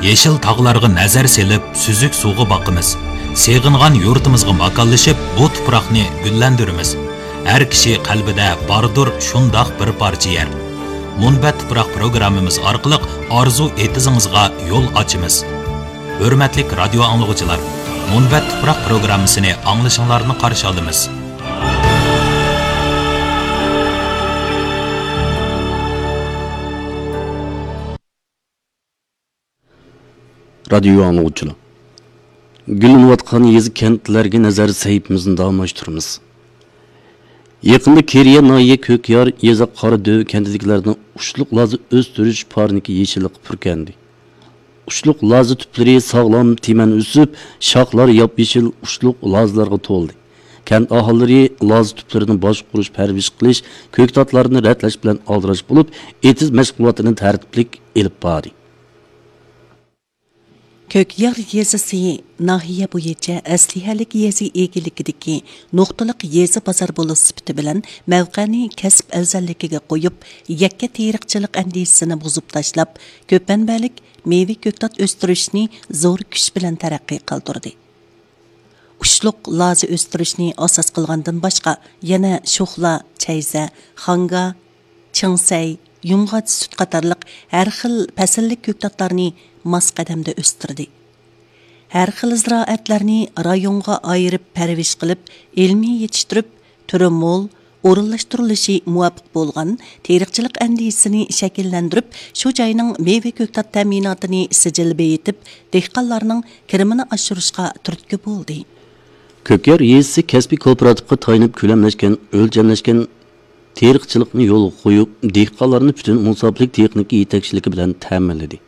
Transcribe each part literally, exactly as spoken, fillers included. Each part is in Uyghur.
يېشىل تاغلارغا نەزەر سېلىپ، سۈزۈك سۇغا باقىمىز. سېغىنغان يۇرتىمىزغا ماكانلىشىپ، بۇ تۇپراقنى گۈللەندۈرىمىز. ھەر كىشى قەلبىدە باردۇر شۇنداق بىر پارچە يەر. مۇنبەت تۇپراق پروگراممىمىز ئارقىلىق ئارزۇ ئېتىزىڭىزغا يول ئاچىمىز. ھۆرمەتلىك رادىيو ئاڭلىغۇچىلار، مۇنبەت تۇپراق پروگراممىسىنى ئاڭلىشىڭلارنى قارشى ئالىمىز. رادىيو ئاڭلىغۇچىلار، گۈللىنىۋاتقان يېزا، كەنتلەرگە نەزەر سەھىپىمىزنى داۋاملاشتۇرىمىز. يېقىندا كېرىيە ناھىيە كۆكيار يېزا قارادۆۋە كەنتىدىكىلەرنىڭ ئۇچلۇق لازا ئۆستۈرۈش پارنىكى يېشىللىققا پۈركەندى. ئۇچلۇق لازا تۈپلىرى ساغلام تىمەن ئۆسۈپ، شاخلار ياپيېشىل ئۇچلۇق لازىلارغا تولدى. كەنت ئاھالىلىرى لازا تۈپلىرىنى باشقۇرۇش، پەرۋىش قىلىش، كۆكتاتلارنى رەتلەش بىلەن ئالدىراش بولۇپ، ئېتىز مەشغۇلاتىنى تەرتىپلىك ئېلىپ باردى. كۆكيار يېزىسى ناھىيە بويىچە ئەسلىھەلىك يېزا ئىگىلىكىدىكى نۇقتىلىق يېزا بازار بولۇش سۈپىتى بىلەن مەۋقەنى كەسىپ ئەۋزەللىكىگە قويۇپ، يەككە تېرىقچىلىق ئەندىزىسىنى بۇزۇپ تاشلاپ، كۆپ مەنبەلىك مېۋە كۆكتات ئۆستۈرۈشنى زور كۈچ بىلەن تەرەققىي قىلدۇردى. ئۇچلۇق لازا ئۆستۈرۈشنى ئاساس قىلغاندىن باشقا، يەنە شوخلا، چەيزە، خاڭگا، چىڭسەي، يۇمغاچ سۈت قاتارلىق ھەر خىل پەسىللىك كۆكتاتلارنى ماس قەدەمدە ئۆستۈردى. ھەر خىل زىرائەتلەرنى رايونغا ئايرىپ پەرۋىش قىلىپ، ئىلمىي يېتىشتۈرۈپ، تۈرى مول، ئورۇنلاشتۇرۇلۇشى مۇۋاپىق بولغان تېرىقچىلىق ئەندىزىسىنى شەكىللەندۈرۈپ، شۇ جاينىڭ مېۋە كۆكتات تەمىناتىنى سىجىل بېيىتىپ، دېھقانلارنىڭ كىرىمىنى ئاشۇرۇشقا تۈرتكە بولدى. كۆكيار يېزىسى كەسپىي كوپىراتىپقا تايىنىپ كۆلەملەشكەن، ئۆلچەملەشكەن تېرىقچىلىقنى يولغا قويۇپ، دېھقانلارنى پۈتۈن مۇناسىپلىك تېخنىكا يېتەكچىلىكى بىلەن تەمىنلىدى.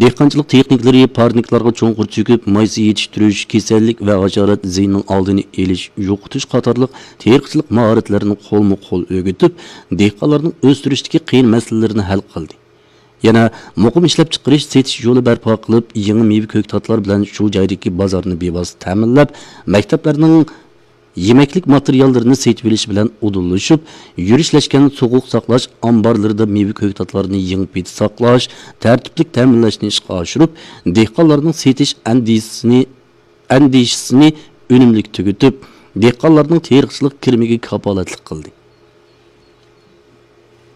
دېھقانچىلىق تېخنىكلىرى پارنىكلارغا چوڭقۇر چۆكۈپ، مايسا يېتىشتۈرۈش، كېسەللىك ۋە ھاشارات زىيىنىنىڭ ئالدىنى ئېلىش، يوقىتىش قاتارلىق تېرىقچىلىق ماھارەتلىرىنى قولمۇ قول ئۆگىتىپ، دېھقانلارنىڭ ئۆستۈرۈشتىكى قىيىن مەسىلىلىرىنى ھەل قىلدى. يەنە مۇقىم ئىشلەپچىقىرىش، سېتىش يولى بەرپا قىلىپ، يېڭى مېۋە كۆكتاتلار بىلەن شۇ جايدىكى بازارنى بىۋاسىتە تەمىنلەپ، مەكتەپلەرنىڭ يېمەكلىك ماتېرىياللىرىنى سېتىۋېلىش بىلەن ئۇدۇللىشىپ، يۈرۈشلەشكەن سوغۇق ساقلاش ئامبارلىرىدا مېۋە كۆكتاتلارنى يېڭى پېتى ساقلاش، تەرتىپلىك تەمىنلەشنى ئىشقا ئاشۇرۇپ، دېھقانلارنىڭ سېتىش ئەندىزىسىنى، ئەندىشىسىنى ئۈنۈملۈك تۈگىتىپ، دېھقانلارنىڭ تېرىقچىلىق كىرىمىگە كاپالەتلىك قىلدى.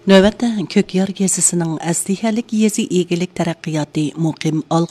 نۆۋەتتە كۆكيار يېزىسىنىڭ ئەسلىھەلىك يېزا ئىگىلىك تەرەققىياتى مۇقىم ئالغا